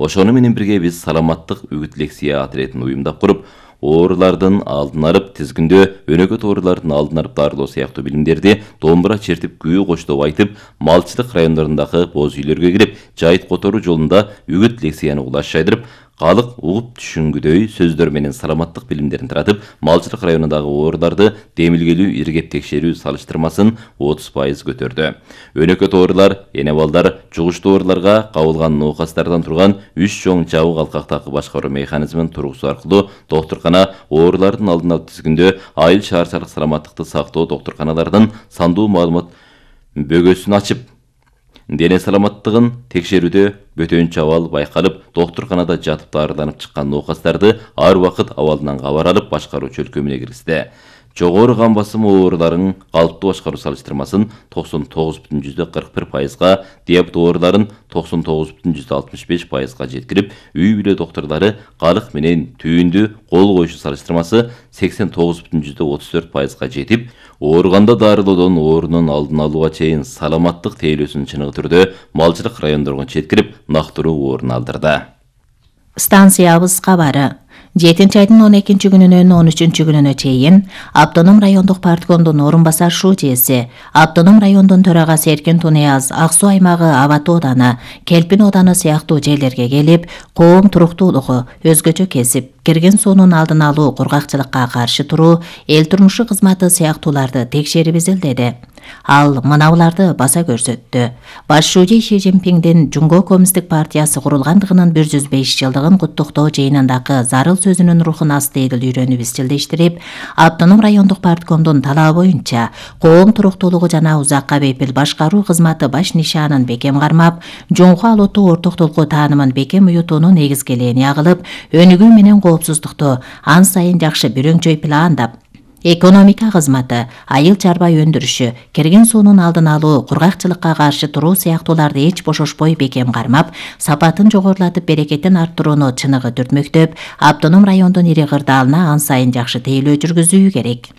Ошону менен бирге биз саламаттык үгүт лекция отрядын уюмдап куруп, оорулардын алдын алып, тизгиндөө өнөкөт оорулардын алдын алып дарылоо сыяктуу билимдерди домбура чертип, күү коштоп айтып, малчылык райондорундагы боз үйлөргө кирип, жайыт которуу жолунда үгүт лекцияны улаш жайдырып, калык угуп түшүнгүдөй сөздөр менен саламаттык билимдерин таратып, малчылык районундагы ооруларды демилгелүү иргеп текшерүү салыштырмасын 30% көтөрдү. Өнөкөт оорулар, эне балдар, жугуштуу ооруларга кабылган ноокастардан турган 3 чоң жабык алкактагы башкаруу механизмин тургузуу аркылуу доктуркана оорулардын алдын алып тизгиндөө айыл шаарчалык саламаттыкты сактоо доктурканалардын сандуу маалымат бөгөсүн ачып, дене саламаттыгын текшерүүдө бөтөнчө абал байкалып, доктурканада жатып дарыланып чыккан ноокастарды ар убакыт абалынан кабар алып башкаруу чөлкөмүнө киргизди. Жогору кан басымы ооруларын калыптуу башкаруу салыштырмасын 99,41%, диабет ооруларын 99,65%га жеткирип, үй бүлө доктурлары калык менен түйүндү кол коюшу салыштырмасы 89,34%га жетип, ооруганда дарылоодон оорунун алдын алууга чейин саламаттык тейлөөсүн чыныгы түрдө малчылык райондорго жеткирип, нактыруу орун алдырды. Станциябыз кабары 7-айдын 12-күнүнөн 13-күнүнө чейин Автоном райондук парткомдун орун басар шүүжеси, Автоном райондун төрагасы Эркин Тунияз Ак Суу аймагы Абат ооданы, Келпин ооданы сыяктуу жерлерге келип, коом туруктуулугу, өзгөчө кесип, кирген суунун алдын алуу, кургакчылыкка каршы туруу, эл турмушу кызматы сыяктууларды текшерип изилдеди. Ал мынабуларды баса көрсөттү. Баш шүүжө Ши Цзиньпиңдин Жумго Коммунисттик партиясы курулгандыгынын 105 жылдыгын куттуктоо жыйынындагы зарыл сөзүнүн рухун астыйдыл үйрөнүп изчилдештирип, Автоном райондук парткомдун талабы боюнча коом туруктуулугу жана узакка бепил башкаруу кызматы баш нишанын бекем кармап, жоңку алуутуу ортоктулугу таанымын бекем уютуунун негизгелээни агылып, өнүгүү менен коопсуздукту ан сайын жакшы бирөңчөй пландап, экономика кызматы, айыл чарба өндүрүшү, кирген суунун алдын алуу, кургакчылыкка каршы туруу сыяктууларды эч бошошпой бекем кармап, сапатын жогорулатып, берекетин арттырууну чыныгы түртмөктөп, Автоном райондун ири кырдаалына ан сайын жакшы тейлөө жүргүзүү керек.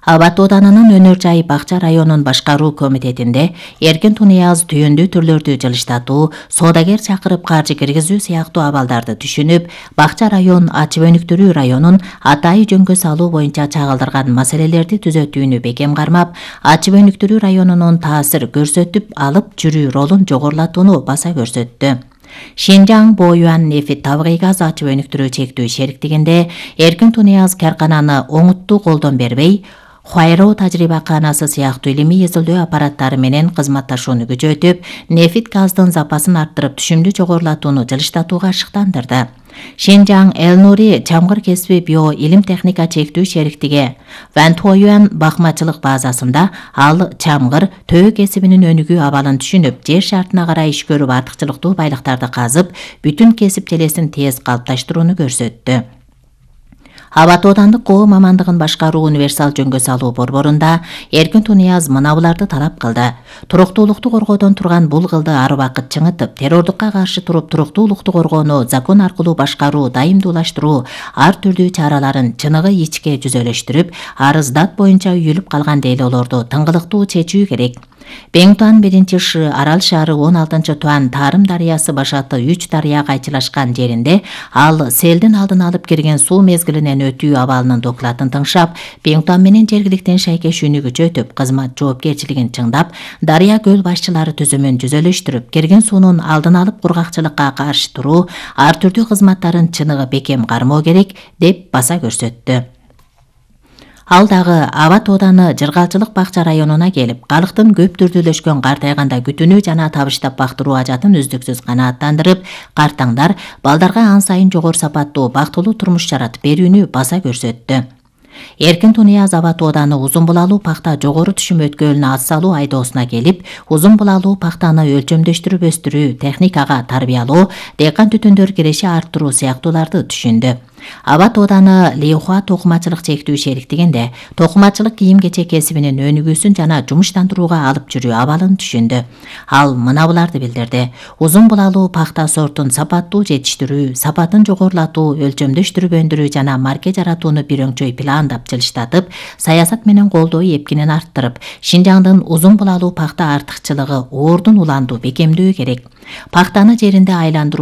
Абат оданынын өнөр жайы Бакча районун башкаруу комитетинде Эркин Тунияз түйүндүү түрлөрдү жылыштатуу, соодагер чакырып каржы киргизүү сыяктуу абалдарды түшүнүп, Бакча район ачып өнүктүрүү районун атайы жөнгө салуу боюнча чагылдырган маселелерди түзөтүүнү бекем кармап, ачып өнүктүрүү районунун таасир көрсөтүп алып жүрүү ролун жогорулатууну баса көрсөттү. Шинжаң Боюан нефит табигый газ ачып өнүктүрүү чектүү шериктигинде Эркин Тунияз каркананы оңуттуу колдон бербей, Хуайро тажрыйбаканасы сыяктуу илимий изилдөө аппараттары менен кызматташууну күчөтүп, нефит газдын запасын арттырып, түшүмдү жогорулатууну жылыштатууга шыктандырды. Шинжаң Элнури чамгыр кесиби био илим техника чектүү шериктиги Вантуоюан бакмачылык базасында ал чамгыр төө кесибинин өнүгүү абалын түшүнүп, жер шартына карай иш көрүп, артыкчылыктуу байлыктарды казып, бүтүн кесип желесин тез калыпташтырууну көрсөттү. Абат оодандык коом амандыгын башкаруу универсал жөнгө салуу борборунда Эркин Тунияз мынабуларды талап кылды. Туруктуулукту коргоодон турган бул кылды ар убакыт чыңытып, террордукка каршы туруп, туруктуулукту коргоону закон аркылуу башкаруу, дайымдуулаштыруу, ар түрдүү чараларын чыныгы ичке жүзөлөштүрүп, арыздат боюнча үйүлүп калган дейлоолорду тыңгылыктуу чечүү керек. Беңтуан 1-Ш Арал шаары 16-Туан Тарым дарыясы башаты 3 дарыя кайчылашкан жеринде ал селдин алдын алып кирген суу мезгилинен өтүү абалынын докладын тыңшап, Беңтуан менен жергиликтен шайкешүүнү күчөтүп, кызмат жоопкерчилигин чыңдап, дарыя көл башчылары түзүмүн жүзөлөштүрүп, кирген суунун алдын алып кургакчылыкка каршы туруу, ар түрдүү кызматтарын чыныгы бекем кармоо керек деп баса көрсөттү. Ал дагы Абат ооданы Жыргалчылык Бакча районуна келип, калктын көп түрдүүлөшкөн картайганда күтүүнү жана табыштап бактыруу ажатын үздүксүз канааттандырып, картаңдар балдарга ан сайын жогору сапаттуу, бактылуу турмуш жаратып берүүнү баса көрсөттү. Эркин Тунияз Абат ооданы Узун булалуу пакта жогору түшүм өткөлүнө ат салуу айдоосуна келип, узун булалуу пактаны өлчөмдөштүрүп өстүрүү, техникага тарбиялоо, дыйкан түтүндөр киреши арттыруу сыяктууларды түшүндү. Аба Тооданы Лихуа токумачылык чектүү шериктигинде токумачылык кийим-кечек кесибинин өнүгүүсүн жана жумуштандырууга алып жүрүү абалын түшүндү. Ал мына буларды билдирди. Узун булалуу пахта сортун сапаттуу жетиштирүү, сапатын жогорулатуу, өлчөмдөштүрүп өндүрүү жана марке жаратууну бир өңчөй пландап, жылыштатып, саясат менен колдоо эпкинин арттырып, Шинжаңдын узун булалуу пахта артыкчылыгы ордун уланду бекемдөө керек. Пахтаны жеринде айландыруу